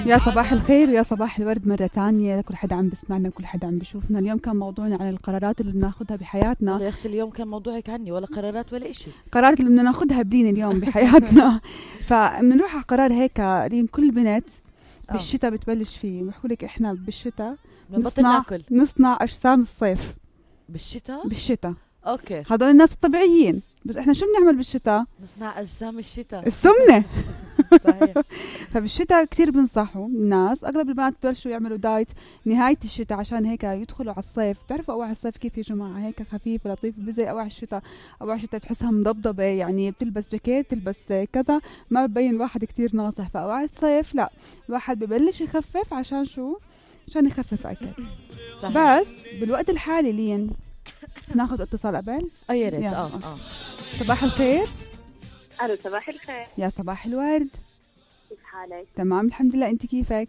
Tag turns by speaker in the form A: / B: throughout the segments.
A: يا صباح الخير ويا صباح الورد مرة تانية لكل حدا عم بسمعنا وكل حدا عم بشوفنا. اليوم كان موضوعنا عن القرارات اللي بناخدها بحياتنا.
B: يا أختي اليوم كان موضوعك عني ولا قرارات ولا إشي.
A: قرارات اللي بدنا ناخدها بلين اليوم بحياتنا. فبنروح على قرار هيك لين كل بنت بالشتاء بتبلش فيه. بحكولك إحنا بالشتاء نصنع أجسام الصيف. بالشتاء
B: أوكي.
A: هدول الناس الطبيعيين، بس إحنا شو بنعمل بالشتاء؟
B: نصنع أجسام الشتاء،
A: السمنة.
B: صحيح.
A: فبالشتاء كتير بنصحوا الناس، اغلب البنات ببلشوا يعملوا دايت نهايه الشتاء عشان هيك يدخلوا على الصيف. بتعرفوا اواعي الصيف كيف يا جماعه؟ هيك خفيفه لطيفه، بزي اواعي الشتاء. اواعي الشتاء بتحسها مضبضبه، يعني بتلبس جاكيت بتلبس كذا، ما ببين الواحد كتير ناصح. فاواعي الصيف لا، الواحد ببلش يخفف عشان شو؟ عشان يخفف اكل. بس بالوقت الحالي لين ناخذ اتصال قبل.
B: يا ريت.
A: صباح الخير.
C: الو صباح الخير.
A: يا صباح الورد.
C: كيف حالك؟
A: تمام الحمد لله، انت كيفك؟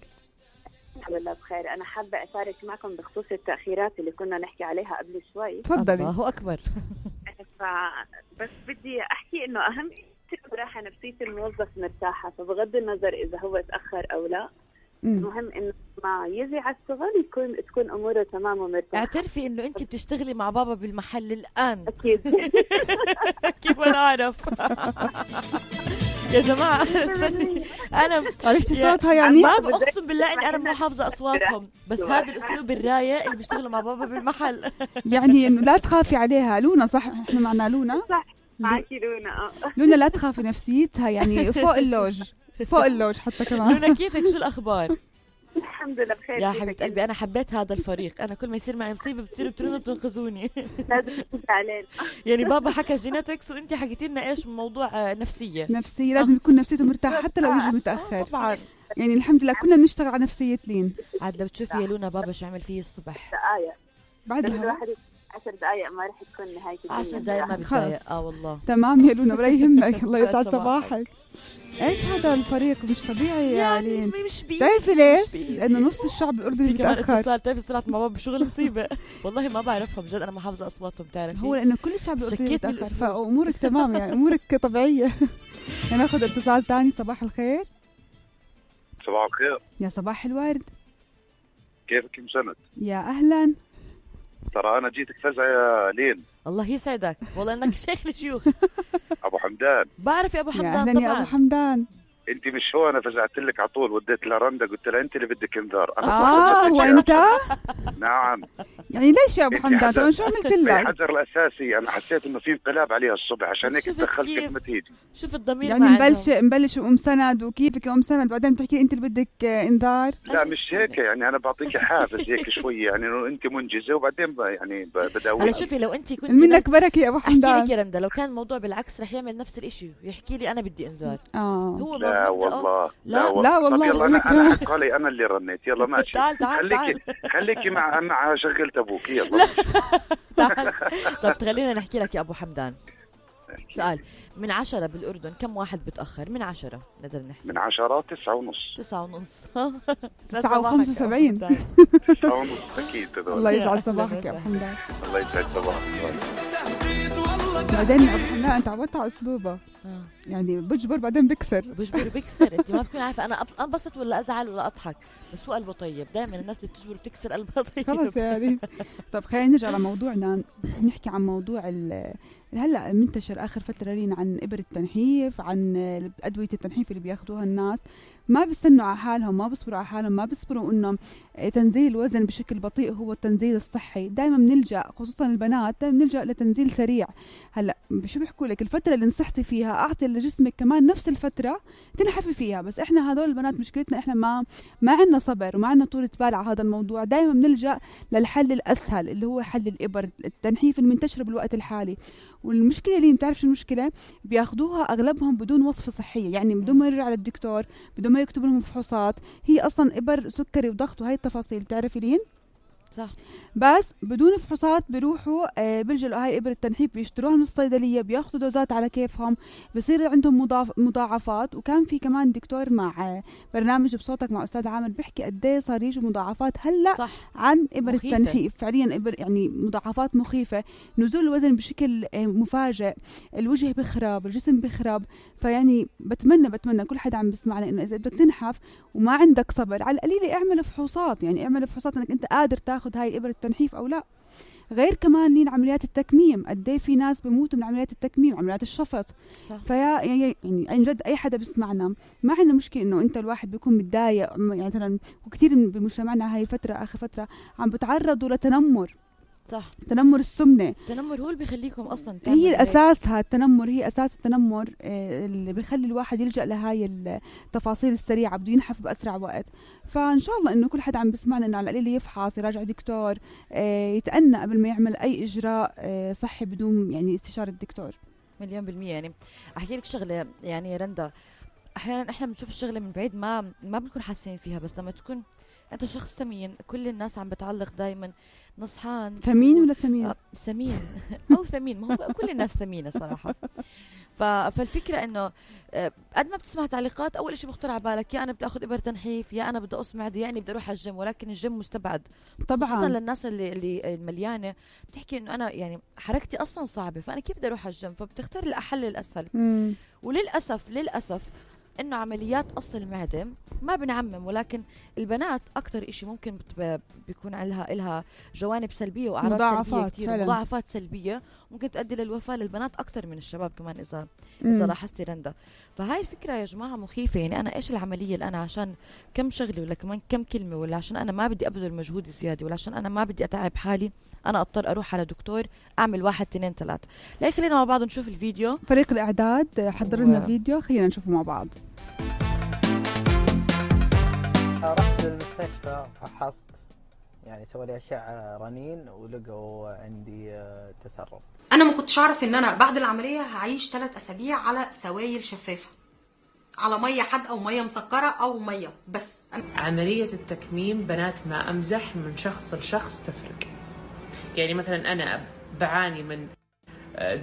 C: الحمد لله بخير. انا حابه اشارك معكم بخصوص التاخيرات اللي كنا نحكي عليها قبل شوي.
A: تفضلي.
B: الله اكبر.
C: بس بدي احكي انه اهم شيء راحه نفسيه الموظف مرتاحه، فبغض النظر اذا هو تاخر او لا، المهم انه ما يجي على الشغل تكون اموره تمام ومرتاحه.
B: اعترفي انه انت بتشتغلي مع بابا بالمحل الان.
C: اكيد.
B: كيف انا اعرف؟ يا جماعه انا
A: عرفتي صوتها يعني؟
B: ما اقسم بالله اني انا مو حافظه اصواتهم، بس هذا الاسلوب الرايق اللي بيشتغلوا مع بابا بالمحل.
A: يعني انه لا تخافي عليها. لونا صح؟ احنا معنا لونا.
C: صح معكي لونا.
A: لونا لا تخافي، نفسيتها يعني فوق اللوج، فوق اللوج حتى كمان.
B: لونا كيفك؟ شو الاخبار؟
C: الحمد لله بخير.
B: يا حبيبه قلبي انا حبيت هذا الفريق. انا كل ما يصير معي مصيبه بتصيروا بترنوا بتنقذوني.
C: لازم تنسى علينا.
B: يعني بابا حكى جيناتكس وانت حكيتي لنا ايش موضوع نفسيه
A: لازم يكون نفسيته مرتاحه حتى لو يجي متاخر.
B: طبعا
A: يعني الحمد لله كنا بنشتغل على نفسيه لين.
B: عاد لو تشوفي يا لونا بابا شو عمل فيه الصبح.
C: دقائق
A: بعدها
C: 10 دقائق ما رح تكون نهايه الدنيا.
B: 10 دقائق ما بتضايق. والله
A: تمام يا لونا ولا يهمك. الله يسعد صباحك. ايش هذا الفريق مش طبيعي يعني. بتعرفي ليش؟ لانه نص الشعب الاردني بتاخر.
B: بتعرفي طلعت مع بابا بشغل مصيبه. والله ما بعرفهم جد، انا ما حافظه اصواتهم. بتعرفي
A: هو لانه كل الشعب الاردني بتاخر، فامورك تمام يعني امورك طبيعيه. ناخذ اتصال ثاني. صباح الخير.
D: صباح الخير.
A: يا صباح الورد.
D: كيفك مسند؟
A: يا اهلا.
D: ترى انا جيتك فزعه يا لين.
B: الله يسعدك، والله انك شيخ الشيوخ.
D: ابو حمدان.
B: بعرف يا ابو حمدان.
A: يا أهلاً
B: طبعا
A: يا ابو حمدان.
D: انت مش هو انا فزعت لك على طول، وديت لرندا قلت لها انت اللي بدك انذار. انا
A: هو انت؟
D: نعم.
A: يعني ليش يا ابو حمدان؟ طبعا شو عملت لك؟
D: الحجر الاساسي انا حسيت انه في انقلاب عليها الصبح، عشان هيك تدخلت قبل ما تيجي.
B: شوف الضمير
A: يعني مبلش ام سند وكيفك ام سند، بعدين بتحكي انت اللي بدك انذار.
D: لا مش هيك، يعني انا بعطيك حافز هيك شويه، يعني انه انت منجزه وبعدين يعني بداوي.
B: هلا شوفي لو انت كنت
A: منك بركه يا ابو حمدان.
B: احكي لك يا رندا، لو كان الموضوع بالعكس رح يعمل نفس الاشي ويحكي لي انا بدي انذار. هو
D: لا والله
A: لا والله.
D: طب يلا انا حق علي انا اللي رنيت. يلا ماشي.
B: تعال
D: خليكي مع شغلة ابوك. يلا
B: تعال. طب خلينا نحكي لك يا ابو حمدان سؤال. من 10 بالاردن كم واحد بتاخر؟ من 10 نقدر نحكي.
D: من 10 9:30.
A: 9:75.
D: 9:30 اكيد.
A: الله يسعد صباحك يا ابو حمدان.
D: الله يسعد صباحك.
A: بعدين يا ابو حمدان انت عودت على اسلوبه. يعني بجبر بعدين بكسر.
B: انت ما بتكون عارفه انا انبسط ولا ازعل ولا اضحك، بس هو قلبه طيب. دائما الناس اللي بتجبر بتكسر قلبها طيب.
A: خلص يعني. طب خلينا نرجع لموضوعنا، نحكي عن موضوع هلا منتشر اخر فتره لينا عن ابر التنحيف، عن ادويه التنحيف اللي بياخذوها الناس. ما بيستنوا على حالهم، ما بيصبروا على حالهم، ما بيصبروا انه تنزيل الوزن بشكل بطيء هو التنزيل الصحي. دائما بنلجا، خصوصا البنات، دائما بنلجا لتنزيل سريع. هلا شو بيحكوا لك؟ الفتره اللي نصحتي فيها اعطي لجسمك كمان نفس الفتره تنحفي فيها. بس احنا هذول البنات مشكلتنا احنا ما عندنا صبر وما عندنا طولة بال على هذا الموضوع. دائما بنلجا للحل الاسهل اللي هو حل الابر التنحيف المنتشره بالوقت الحالي. والمشكله اللي بتعرف شو المشكله؟ بياخذوها اغلبهم بدون وصفه صحيه، يعني بدون ما يرجع للدكتور، بدون ما يكتب لهم فحوصات. هي اصلا ابر سكري وضغط وهي التفاصيل. بتعرفي لين
B: صح.
A: بس بدون فحوصات بيروحوا بيلجأوا هاي إبر التنحيف بيشتروها من الصيدلية، بياخدوا دوزات على كيفهم، بصير عندهم مضاعفات. وكان في كمان دكتور مع برنامج بصوتك مع أستاذ عامر بيحكي قديه صار يجي مضاعفات هلأ
B: صح.
A: عن إبر
B: مخيفة.
A: التنحيف، فعليا إبر يعني مضاعفات مخيفة، نزول الوزن بشكل مفاجئ، الوجه بخرب، الجسم بخرب. فيعني بتمنى كل حدا عم بسمعنا إنه إذا بدك تنحف وما عندك صبر على القليلة اعمل فحوصات، يعني اعمل فحوصات انك انت قادر تاخذ هاي الإبر التنحيف او لا. غير كمان لين عمليات التكميم، قد ايه في ناس بيموتوا من عمليات التكميم، عمليات الشفط. فيا يعني عن جد اي حدا بيسمعنا ما عندنا مشكله انه انت الواحد بيكون متضايق، يعني مثلا وكثير بمجتمعنا هاي الفتره اخر فتره عم بتعرضوا لتنمر.
B: صح.
A: تنمر السمنه،
B: التنمر هو اللي بيخليكم اصلا
A: هي الاساسها التنمر، هي اساس التنمر اللي بيخلي الواحد يلجأ لهاي التفاصيل السريعه، بده ينحف باسرع وقت. فان شاء الله انه كل حدا عم بسمعنا انه على القليل يفحص، يراجع دكتور، يتأنى قبل ما يعمل اي اجراء صحي بدون يعني استشاره الدكتور. 100%.
B: يعني احكي لك شغله يعني رندا، احيانا احنا بنشوف الشغله من بعيد ما بنكون حاسين فيها، بس لما تكون انت شخص ثمين، كل الناس عم بتعلق دايما نصحان
A: ثمين ولا ثمين؟
B: ثمين او ثمين، ما هو كل الناس ثمينه صراحه. فالفكره انه قد ما بتسمع تعليقات اول شيء بخطر على بالك يا انا بدي اخذ ابر تنحيف، يا انا بدي اقص معدي، يعني بدي اروح على الجيم، ولكن الجيم مستبعد
A: طبعا،
B: خصوصا للناس اللي المليانه بتحكي انه انا يعني حركتي اصلا صعبه، فانا كيف بدي اروح على الجيم؟ فبتختار الحل الاسهل. وللاسف انه عمليات قص المعده ما بنعمم، ولكن البنات اكثر إشي ممكن بيكون لها جوانب سلبيه واعراض سلبيه كثير، مضاعفات سلبيه ممكن تؤدي للوفاه للبنات اكثر من الشباب كمان اذا لاحظتي رندا. فهاي الفكره يا جماعه مخيفه. يعني انا ايش العمليه اللي انا عشان كم شغله ولا كمان كم كلمه، ولا عشان انا ما بدي ابذل مجهود زياده، ولا عشان انا ما بدي اتعب حالي انا اضطر اروح على دكتور اعمل 1 2 3. لا خلينا مع بعض نشوف الفيديو.
A: فريق الاعداد حضر لنا فيديو، خلينا نشوفه مع بعض.
E: رحت للمستشفى، فحصت يعني سووا لي أشعة رنين ولقوا عندي تسرب.
F: أنا ما كنتش أعرف إن أنا بعد العملية هعيش 3 أسابيع على سوائل شفافة، على مية حادقة ومية مسكرة أو مية بس.
G: عملية التكميم بنات ما أمزح، من شخص لشخص تفرق. يعني مثلا أنا بعاني من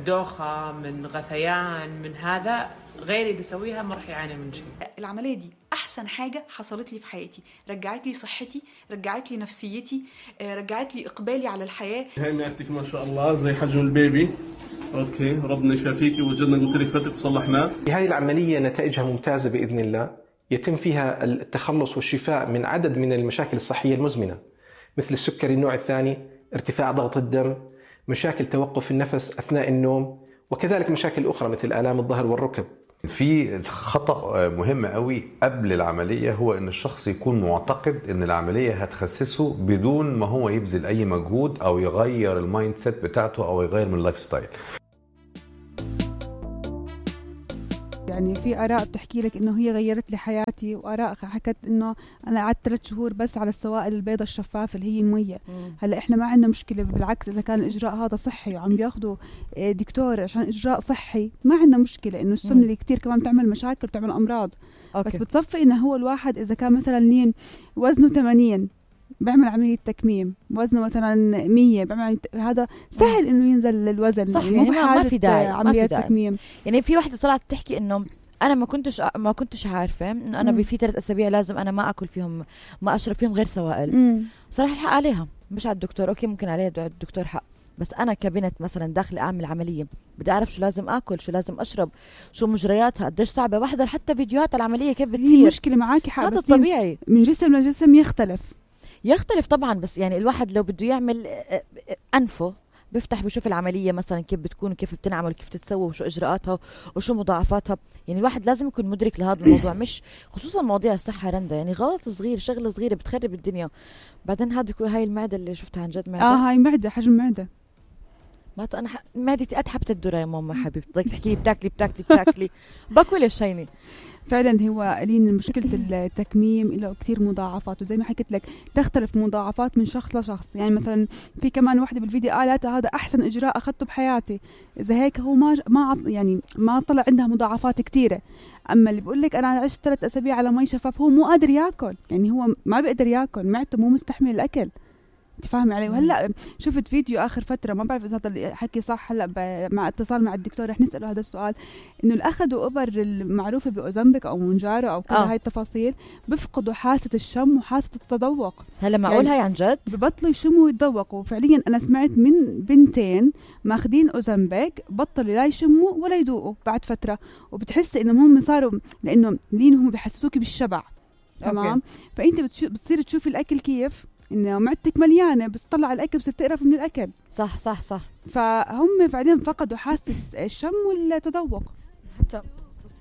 G: دوخة، من غثيان، من هذا، غيري بيسويها ما راح يعاني من شيء.
H: العملية دي أحسن حاجة حصلت لي في حياتي، رجعت لي صحتي، رجعت لي نفسيتي، رجعت لي إقبالي على الحياة.
I: هاي معدتك ما شاء الله زي حجم البيبي. اوكي، ربنا يشافيكي، وجدنا قلت لك فتك وصلحناه.
J: هاي العملية نتائجها ممتازة بإذن الله، يتم فيها التخلص والشفاء من عدد من المشاكل الصحية المزمنة، مثل السكري النوع الثاني، ارتفاع ضغط الدم، مشاكل توقف النفس أثناء النوم، وكذلك مشاكل أخرى مثل آلام الظهر والركب.
K: في خطأ مهم قوي قبل العملية، هو ان الشخص يكون معتقد ان العملية هتخسسه بدون ما هو يبذل اي مجهود او يغير المايند سيت بتاعته او يغير من اللايف ستايل.
A: يعني في آراء بتحكي لك إنه هي غيرت لي حياتي، وآراء حكت إنه أنا قعدت 3 شهور بس على السوائل البيضة الشفافة اللي هي المية. هلا إحنا ما عندنا مشكلة، بالعكس إذا كان الإجراء هذا صحي وعم بياخدوا دكتور عشان إجراء صحي ما عندنا مشكلة. إنه السمنة اللي كتير كمان بتعمل مشاكل وبتعمل أمراض. بس بتصفي إنه هو الواحد إذا كان مثلا لين وزنه 80 بعمل عملية تكميم، وزنه مثلا 100 بعمل، هذا سهل إنه ينزل الوزن.
B: صح، يعني ما في داعي
A: عملية تكميم.
B: يعني في واحدة طلعت تحكي إنه أنا ما كنتش عارفة إنه أنا في 3 أسابيع لازم أنا ما أكل فيهم، ما أشرب فيهم غير سوائل. صراحة الحق عليها، مش على الدكتور. أوكي ممكن عليها الدكتور حق، بس أنا كبنت مثلا داخل أعمل عملية بدي أعرف شو لازم أكل، شو لازم أشرب، شو مجرياتها، قديش صعبة، بحضر حتى فيديوهات العملية كيف بتصير.
A: هي مشكلة معاكي حق،
B: هذا الطبيعي
A: من جسم لجسم يختلف
B: طبعا. بس يعني الواحد لو بده يعمل أنفه بفتح بشوف العملية مثلا كيف بتكون وكيف بتنعمل وكيف تتسوى وشو إجراءاتها وشو مضاعفاتها. يعني الواحد لازم يكون مدرك لهذا الموضوع، مش خصوصا مواضيع الصحة رندا. يعني غلط صغير، شغلة صغيرة بتخرب الدنيا. بعدين هاي المعدة اللي شفتها عن جد معدة.
A: هاي معدة، حجم معدة.
B: ما أنا معدتي أتحبت الدرة يا ماما حبيبتي، بدك تحكي لي بتاكلي باكل ايش هيني.
A: فعلا هو لين مشكلة التكميم له كتير مضاعفات، وزي ما حكيت لك تختلف مضاعفات من شخص لشخص. يعني مثلا في كمان واحدة بالفيديو قالت هذا أحسن إجراء أخذته بحياتي، إذا هيك هو ما طلع عندها مضاعفات كتيرة. أما اللي بقول لك أنا عشت 3 أسابيع على مي شفاف، هو مو قادر يأكل، يعني هو ما بيقدر يأكل، معدته مو مستحمل الأكل. انت فاهمه علي. وهلا شفت فيديو اخر فتره، ما بعرف اذا هذا الحكي صح، هلا مع اتصال مع الدكتور رح نساله هذا السؤال، انه اللي اخذوا ابر المعروفه باوزمبيك او مونجارو او كل هاي التفاصيل بيفقدوا حاسه الشم وحاسه التذوق.
B: هلا معقول هاي عن جد؟
A: ببطلوا يشموا ويتذوقوا فعليا. انا سمعت من بنتين ماخذين اوزمبيك بطلوا لا يشموا ولا يذوقوا بعد فتره، وبتحسي انه هم صاروا لانه لين هم بحسوكي بالشبع. تمام. فانت بتصير تشوفي الاكل كيف انه معدتك مليانه، بس تطلع على الاكل بصير تقرف من الاكل.
B: صح صح صح.
A: فهم فعليا فقدوا حاسه الشم والتذوق.
B: حتى